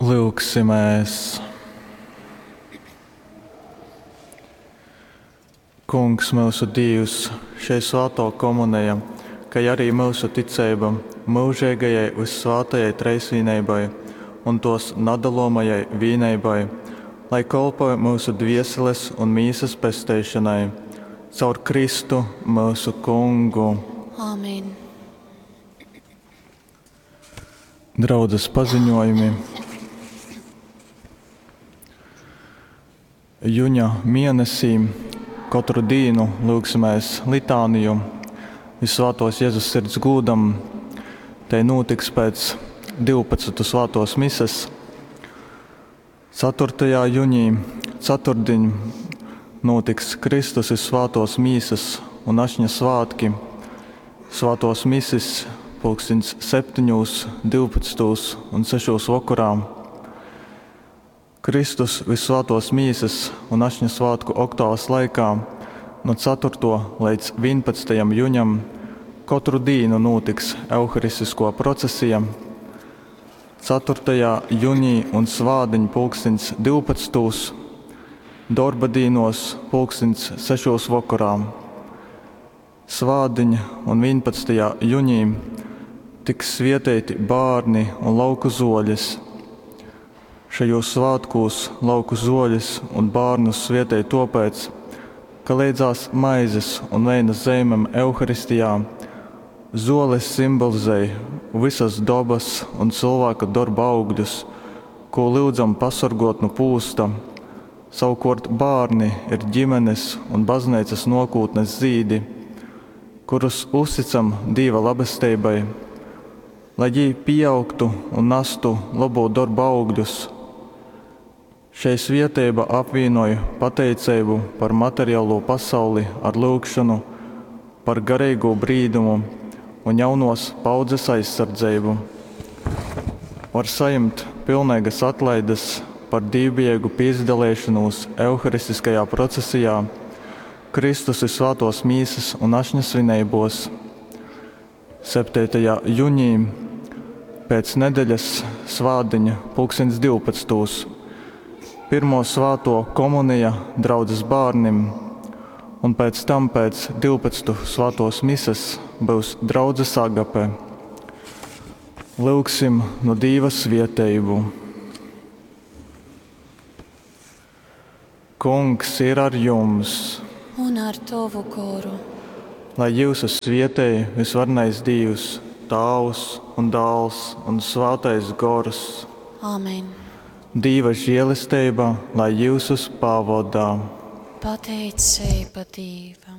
Lyugsimēs! Kungs, myusu Dīvs, šei svātō komuneja, kai arī myusu ticeiba myužeigajai vyssvātajai Treisvīneibai un tōs nadalomajai vīneibai, lai kolpoj myusu dvieseles un mīsas pesteišonai. Caur Kristu, myusu Kungu. Āmen. Draudzes paziņojumi. Juņa mienesī katru dīnu lūgsimies litāniju Visvētos Jēzus sirds gūdam. Te notiks pēc 12. svētos mises. 4. junī, ceturtdiņ, notiks Kristus Visvētos mīsas un ašņa svētki. Svētos misis pulkstens 7, 12 un 6 vakarā. Kristus Visvētos mīsas un ašņa svētku oktāvas laikā no 4. līdz 11. juņam katru dienu notiks Euharistisko procesija. 4. junī un svādiņ pulkstens 12. Dorba dīnos pulkstens 6 vakarā. Svādiņ un 11. junī tiks svietēti bārni un lauku zoļes. Šajos svētkos lauku zoļes un bērnus svietēja topēc, ka leidzās maizes un veina zeimēm Euharistijā zoles simbolizēja visas dabas un cilvēka darba augļus, ko lūdzam pasargot no pūsta. Savukārt bērni ir ģimenes un baznīcas nākotnes zīdi, kurus uzticam Dieva labestībai, lai viņi pieaugtu un nestu labo darbu augļus. Šei svieteiba apvienoja pateicību par materiālo pasauli ar lūgšanu, par garīgo brīdumu un jaunos paudzes aizsardzību. Var saņemt pilnīgas atlaides par dievbijīgu piedalīšanos Euharistiskajā procesijā, Kristus ir svētos mīsas un ašņa svinībos. 7. jūnijā pēc nedēļas svādiņa pulkstens 12. Pirmo svēto komunija draudzes bērnim, un pēc tam pēc 12 svētos mises būs draudzes agape. Lūgsim no Dieva svieteibu. Kungs ir ar jums, Un ar tavu goru. lai jūsu svietēji visvarnais Dievs, Tāvs un Dāls un Svētais Gors. Āmen. Dieva žēlastība, lai jūsus pavadā. Pateicība Dievam.